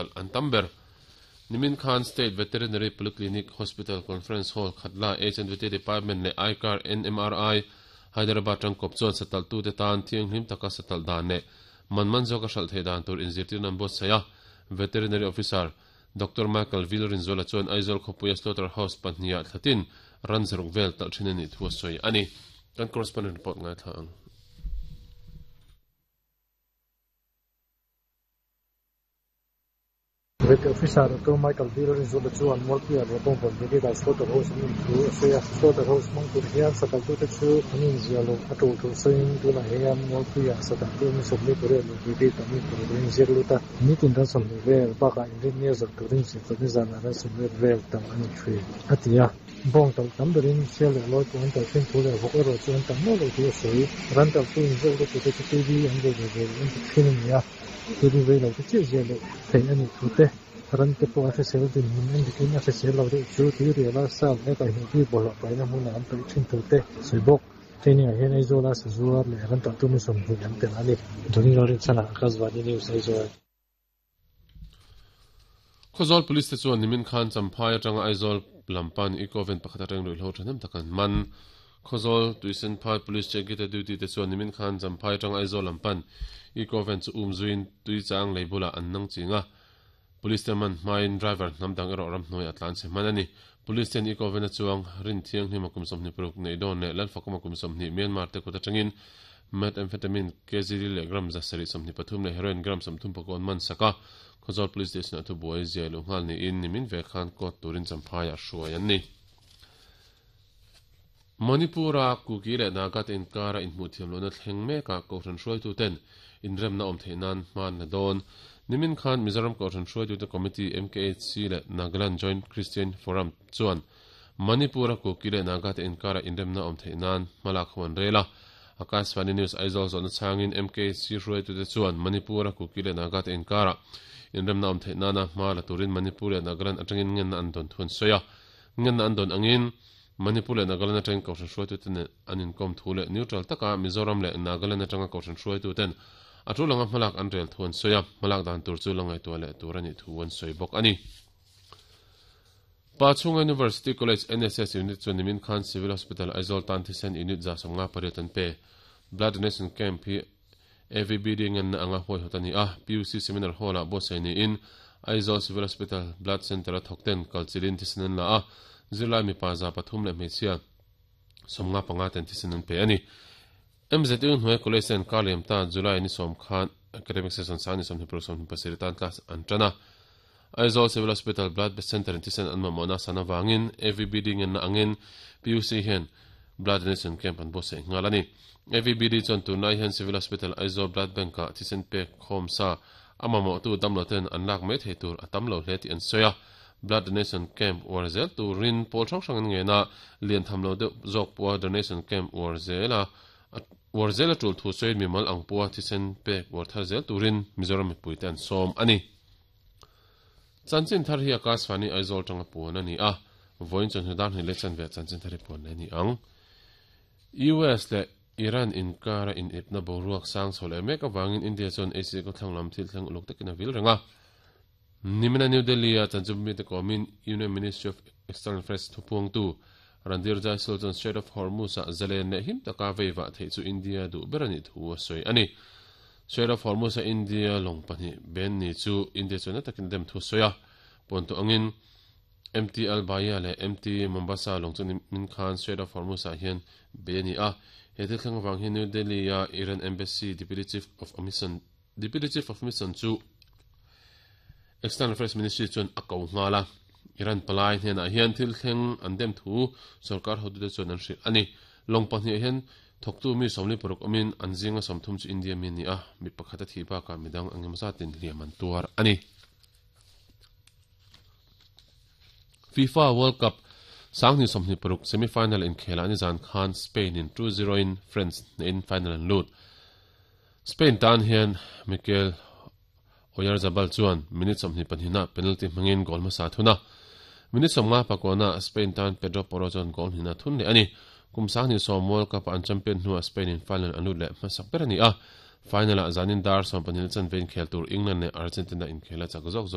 talh an tam ber. Nimin khan State Veterinary Polyclinic Hospital Conference Hall Khatla H&VT Department leh ICAR NMRI Hyderabad tangkawp chuan satalhtute tan thianghlim taka satalh dan leh man man zawka hralh theih dan tur inzirtirna an buatsaih a. Veterinary Officer Doctor Michael Vilrinzuala chuan Aizawl khawpuia Slaughter House pahniha thlatin ran zaruk vel talh thin a nih thu a sawi a ni. Kan correspondent report ngaithla ang. Vet Officer Doctor Michael Vilrinzuala chuan Mualpuia leh Bawngvawn Brigade-ah Slaughter House an awm thu a sawi a. Slaughter House hmang tur hian satalhtute chu an inziah loh a tul thu sawiin tunah hian Mualpuia satalhtu mi 28 leh Brigade-ah mi paruk an inziak lut a. Nitin ran 20 vel bakah inrinnia zawrh turin zirtawpni zanah ran 80 vel tam a ni thin, a ti a. Bawng talh tam berin sial leh lawi pawh an talh thin thu leh vawk erawh chu an tam meuh loh thu a sawi. Ran talhtu inziak lutute chu TV an vei ve ve loh an ti thin a ni a, TV vei lo te chiah ziah loh theih a nih thu te, ran te pawh a hrisel dinhmun en dikin a hrisel lo deuh chu tuiriala sa leh kaihhnawh bik bawlhhlawh paihna hmunah an paih thin thu te a sawi bawk. Training ah hian Aizawla sazuar leh ran talhtu mi 20 an tel a ni. Johnny Lalrinchhana, Akashvani News, Aizawl. Khawzawl Police te chuan nimin khan Champhai atanga Aizawl lam pan Eco Van pakhat atang ruihhlo thahnem tak an man. Khawzawl Tuisenphai Police Check Gate duty te chuan nimin khan Champhai atanga Aizawl lam pan Eco Van chu um zuiin Tuichang lei bulah an nang ching a. Police te man hmain driver hnam dang erawh ramhnuai a tlan chhe hman a ni. Police ten Eco Van a chuang Rin Thianghlim a kum 26 neih dawn leh Lalfakawm a kum 20 Myanmar te kut atangin Methamphetamine kg li leh gram 723 leh heroin gram 30 an man sak a, Khawzawl Police Station-ah thubuai ziah luh nghal niin nimin ve khan court turin Champhaiah hruai an ni. Manipur-a Kuki leh Naga te inkara inhmuh thiam lohna thleng mekah Kohhran hruaituten inremna awm theih nan hma an la dawn. Nimin khan Mizoram Kohhran hruaitute Committee, MKHC, leh Nagaland Joint Christian Forum chuan Manipur-a Kuki leh Naga te inkara inremna awm theih nan hma lak ho an rel a. Akashvani News Aizawl zawhna chhangin MKC hruaitute chuan Manipur-a Kuki leh Naga te inkara inremna awm theih nana hma la turin Manipur leh Nagaland atangin ngenna an dawn thu an sawi a. Ngenna an dawn angin Manipur leh Nagaland atangin Kohhran hruaitute nen an inkawm thu leh neutral taka Mizoram leh Nagaland atanga Kohhran hruaituten a tul anga hmalak an rel thu an sawi a, hmalak dan tur chu la ngaihtuah leh tur a nih thu an sawi bawk a ni. Pa chhunga University College NSS Unit chuan nimin khan Civil Hospital Aizawl tan thisen unit 58 an pe. Blood Donation Camp hi AVBD ngenna anga huaihawt a ni a, PUC Seminar Hall-ah buatsaih niin Aizawl Civil Hospital Blood Centre-a thawkten kalchilhin thisen an la a, zirlai mipa 300 leh hmeichhia 55 ten thisen an pe a ni. MZU hnuai College ten kar liam ta July ni 10 khan Academic Session sang ni 26 27 tan class an tan a. Aizawl Civil Hospital Blood Centre in thisen an mamawhna san avangin AVBD ngenna angin PUC hian Blood Donation Camp an buatsaih nghal a ni. AVBD chuan tunlai hian Civil Hospital Aizawl Blood Bank-ah thisen pek khawm sa a mamawhtu damloten an lak mai thei tur a tam lo hle tih an sawi a. Blood Donation Camp uar zel turin pawl hrang hrang an ngen a, lian tham lo deuh zawk pawha Donation Camp uar zel a uar zel a tul thu sawiin mimal ang pawha thisen pek uar thar zel turin Mizoram mipuite an sawm a ni. Chanchin thar hi Akashvani Aizawl tanga puan a ni a, vawiin chawhnu dar hnih leh chanve ah chanchin thar hi puan leh a ni ang. US leh Iran inkara inepna boruak sang chho leh mek avangin India chuan Asia khawthlang lam thil thleng uluk takin a vil reng a. Nimina New Delhi-a chanchin mite kawmin Union Ministry of External Affairs thupuangtu Randhir Jaiswal chuan Strait of Hormuz-ah zalen leh him taka veivah theih chu India duh ber a nih thu a sawi a ni. Strait of Hormuz-a India lawng pahnih ben ni chu India chuan na takin a dem thu a sawi a. Puantu angin MT Al Bahia leh MT Mombasa lawng chu nimin khan Strait of Hormuz-ah hian bei a ni a. He thil thleng avang hian New Delhi-a Iran Embassy Deputy Chief of Mission Deputy Chief of Mission chu External Affairs Ministry chuan a ko nghal a. Iran palai hnenah hian thil thleng an dem thu sorkar hotute chuan an hrilh a ni. Lawng pahnih hian thawktu mi 46 awmin an zinga 30 chu India mi a ni a, mi pakhat a thih bakah midang eng emaw zatin hliam an tuar a ni. FIFA World Cup 2026 semi-final inkhelah nizan khan Spain in 2-0 in France hnehin final an lut. Spain tan hian Mikel Oyarzabal chuan minute 22 ah penalty hmangin goal hmasa a thun a. Minute 54 ah Spain tan Pedro Porro chuan goal hnihna a thun leh a ni. Kum 2010 World Cup ah an champion hnuah Spain in final an lut leh hmasak ber a ni a. Final ah zanin dar 12 chanve inkhel tur England leh Argentina inkhel a chak zawk zawk.